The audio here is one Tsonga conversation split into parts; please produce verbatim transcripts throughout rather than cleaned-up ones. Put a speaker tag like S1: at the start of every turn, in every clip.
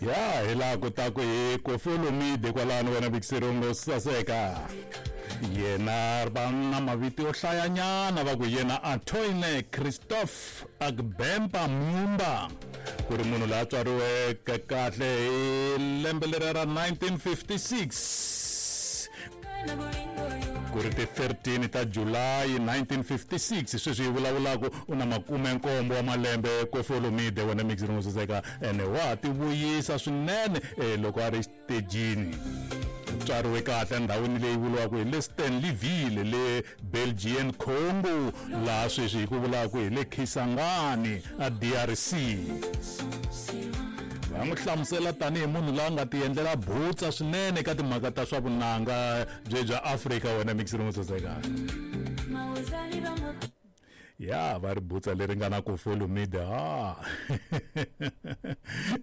S1: Ya hi laha ku ta ku hi Koffi Olomide kwalano wena Bixirungo saseka. Yena va na mavito yo hlayanyana va ku yena Antoine Christophe Agbempa Mumba ku ri munhu loyi a tswariweke kahle hi lembe leriya ra nineteen fifty-six ku ri ti thirteen ta July nineteen fifty-six sweswi hi vulavulaka u na makume nkombo wa malembe Koffi Olomide wena Mixirungo saseka ene wa ti vuyisa swinene loko a ri xitejini. Tswariwe kahle endhawini leyi vuriwaka hi le Stanleyville le Belgian Congo laha sweswi hi ku vulaka hi le Kisangani a D R C. Va n'wi hlamusela tanihi munhu loyi a nga ti endlela butsa swinene eka timhaka ta swa vunanga bye bya Afrika wena Mixirungo saseka. Ya va ri butsa leri nga na Koffi Olomide ha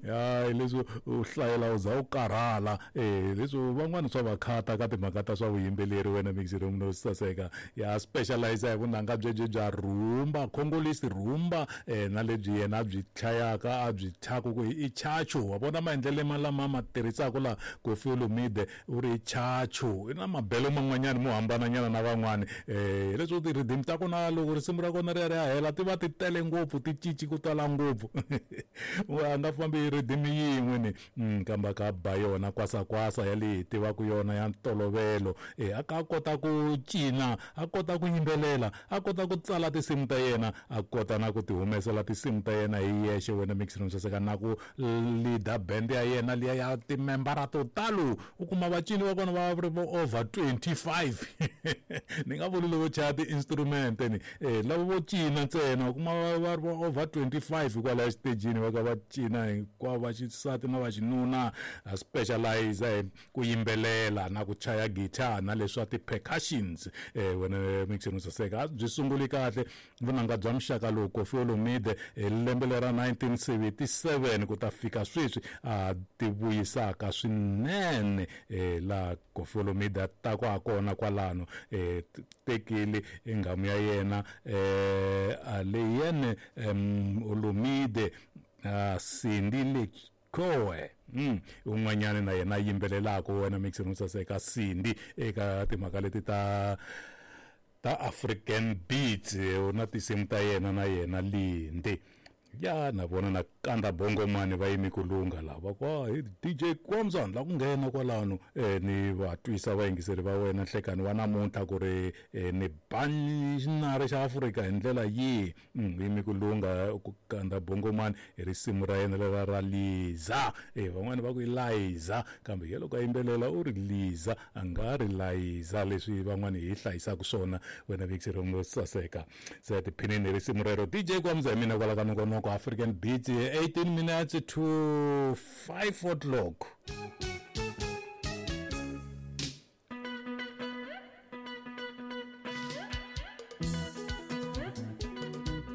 S1: ya leswi u hlayela u za u karhala eh leswi van'wana swa va khata ka timhaka ta swa vuyimbeleri wena Mixirungo saseka. Ya specialize hi vunanga byebye bya rumba Congolese rumba eh na lebyi yena byi chayaka a byi thyaka ku i chacho wa vona maendlelo ma lama ma tirhisaka la Koffi Olomide u ri chacho i na mabelo man'wanyana mo hambananyana na van'wani eh leswi ti rhythm ta kona loko risimu ra kona ri ya ri ya hela ti va ti tele ngopfu ti cinci ku tala ngopfu a nga fambi rhythm yin'we ni kambe ka ba yona kwasakwasa ya leyi hi tivaka yona ya ntolovelo eh a ka kota ku cina a kota ku yimbelela a kota ku tsala tinsimu ta yena a kota na ku ti humesela tinsimu ta yena hi yexe wena Mixirungo saseka na ku leader band ya yena liya ya timembara to talo u kuma vacini va kona va ri vo over twenty-five ni nga vuli loko chaya ti-instrument ni eh lava vo cina ntsena u kuma va ri vo over twenty-five kwalaya xitejini va ka va cina hinkwavo va xisati na va xinuna a specialize hi ku yimbelela na ku chaya guitar na leswa ti-percussions eh wena Mixirungo saseka byi sunguli kahle vunanga bya muxaka lowu Koffi Olomide hi lembe lera nineteen seventy-seven ku ta fika sweswi a ti vuyisaka swinene eh laha Koffi Olomide a ta ku ha kona kwalano eh tekile enghamu ya yena eh Aleyene Olomide Cindy Lekoe mm un'wanyana na yena yimbelelaka wena Mixirungo saseka Cindy eka timhaka leti ta ta African beats na tinsimu ta yena na yena Linde ya na vona na kanda bongo mani va yimi ku lungha lava kwa hi D J Kwamzana la ku nghena kwalano eh ni va twisa vayingiseri va wena nhlekani wa namuntlha ku ri ni bani xinare xa Afrika hi ndlela yihi yimi ku lungha ku kanda bongo mani hi risimu ra yena lera ra Liza eh van'wani va ku i Liza kambe ye loko a yimbelela u ri Liza a nga ri Liza leswi van'wani hi hlayisaka swona wena Mixirungo saseka se tiphinini hi risimu rero D J Kwamza hi mina kwala ka nongonoko African Beats eighteen minutes to five o'clock.